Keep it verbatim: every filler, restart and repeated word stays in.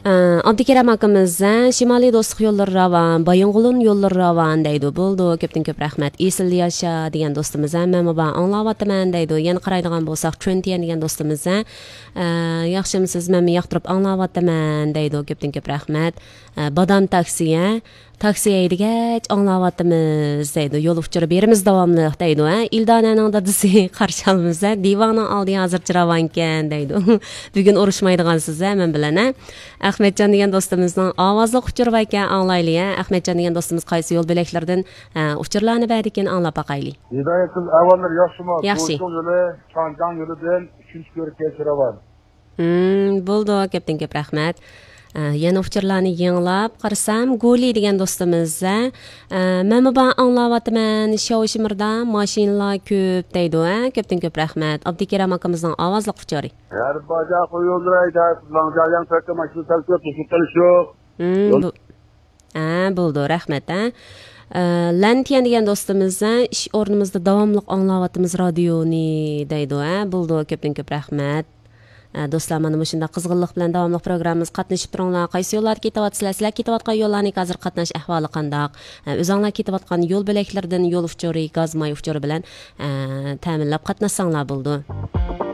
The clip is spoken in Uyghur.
ئابدۇكېرەم ئاكىمىز، ھە، شىمالىي دوستلۇق يوللىرى راۋان، بايىنغولىن يوللىرى راۋان دەيدۇ. بولىدۇ، كۆپتىن كۆپ رەھمەت. ئېسىلدە ياشا دېگەن دوستىمىز، ھە، مەن بۇ ئاڭلاۋاتىمەن دەيدۇ. يەنە قارايدىغان بولساق، چۈەنتيەن دېگەن دوستىمىز، ھە، ئە، ياخشىمۇسىز؟ مەنمۇ ياقتۇرۇپ ئاڭلاۋاتىمەن دەيدۇ. كۆپتىن كۆپ رەھمەت. ئە، بادام تاكسى، ھە، تاكسى ھەيدىگەچ ئاڭلاۋاتىمىز دەيدۇ. يول ئۇچۇرى بېرىمىز داۋاملىق دەيدۇ، ھە. ئىلدانەنىڭ دادىسى قارشى ئالىمىز، ھە. دىۋاڭنىڭ ئالدى ھازىرچە راۋانكەن دەيدۇ. بۈگۈن ئۇرۇشمايدىغانسىز، ھە، مەن بىلەن، ھە. ئەخمەتجان دېگەن دوستىمىزنىڭ ئاۋازلىق ئۇچۇرى باركەن، ئاڭلايلى، ھە. ئەخمەتجان دېگەن دوستىمىز قايسى يول بۆلەكلىرىدىن، ئە، ئۇچۇرلارنى بەردىكىن، ئاڭلاپ باقايلى. ھىدايەت قىز ئەھۋاللىرى ياخشىمۇ؟ ياخشى. بوشلۇق يولى، چاڭجاڭ يولىدىن ئۈچىنچى كۆرۈككە راۋان. ھىم، بولدى، كۆپتىن كۆپ رەھمەت. ئە، يەنە ئۇچۇرلارنى يېڭىلاپ قارىسام، گولى دېگەن دوستىمىز، ئە، مەنمۇ بار ئاڭلاۋاتىمەن، شاۋشىمىردا ماشىنىلار كۆپ دەيدۇ، ھە، كۆپتىن كۆپ رەھمەت. ئابدۇكېرەم ئاكىمىزنىڭ ئاۋازلىق ئۇچۇرى. ھەر باجا قويۇلدۇراي، دەپ، لاڭجاياڭ تۆككە ماشىنا سەل كۆپ، توسۇپ قېلىش يوق. ھىم، يول بۇ-، ھە، بولدى، رەھمەت، ھە. ئە، لەنتيەن دېگەن دوستىمىز، ھە، ئىش ئورنىمىزدا داۋاملىق ئاڭلاۋاتىمىز رادىيونى دەيدۇ، ھە، بولدى، كۆپتىن كۆپ رەھمەت. ئە، دوستلار، مانا مۇشۇنداق قىزغىنلىق بىلەن داۋاملىق پروگراممىمىزغا قاتنىشىپ تۇرۇڭلار. قايسى يوللاردا كېتىۋاتىسىلەر؟ سىلەر كېتىۋاتقان يوللارنىڭ ھازىر قاتناش ئەھۋالى قانداق؟ ئە، ئۆزۈڭلار كېتىۋاتقان يول بۆلەكلىرىدىن يول ئۇچۇرى، گاز ماي ئۇچۇرى بىلەن، ئە، تەمىنلەپ قاتناشساڭلار بولىدۇ.